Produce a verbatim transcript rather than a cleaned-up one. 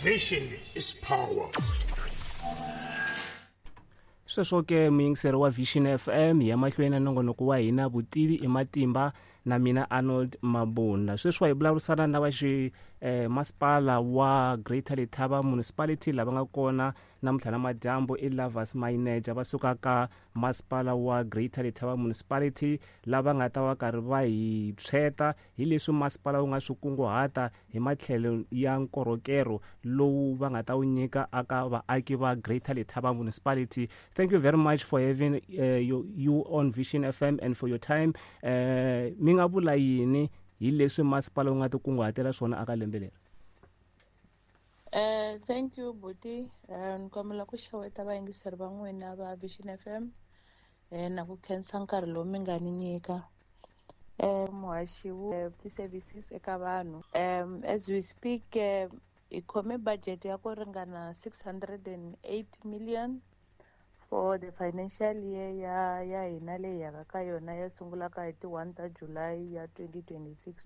Vision is power. Sweswo ke, muyingiseri wa Vision F M, hi ya mahlweni na nongonoko wa hina Vutivi i Matimba na mina Arnold Mabunda. Sweswiwa hi vulavurisana na va xi eh, masipala wa Greater Letaba Municipality. Lava nga kona namuntlha na madyambu i Lovers Manager va suka ka masipala wa Greater Letaba Municipality, lava nga ta va karhi va hi tshweta hi leswi masipala wu nga swi kunguhata hi matlhelo ya nkorhokero lowu va nga ta wu nyika aka vaaki va Greater Letaba Municipality. Thank you very much for having uh, you, you on Vision F M and for your time. uh, mi nga vula yini hi leswi masipala wu nga ti kunguhatela swona aka lembe leri? Uh, thank you, buti. Uh, ni kombela ku xeweta vayingiseri va n'wina va Vision F M eh, na ku khensa nkarhi lowu mi nga ni nyika. Eh, muhaxi wu ti-services eka vanhu. Um, as we speak, uh, hi khome budget ya ku ringana six hundred and eight million for the financial year ya ya hina leyi yaka ka yona, ya sungulaka hi ti one ta July ya twenty twenty-six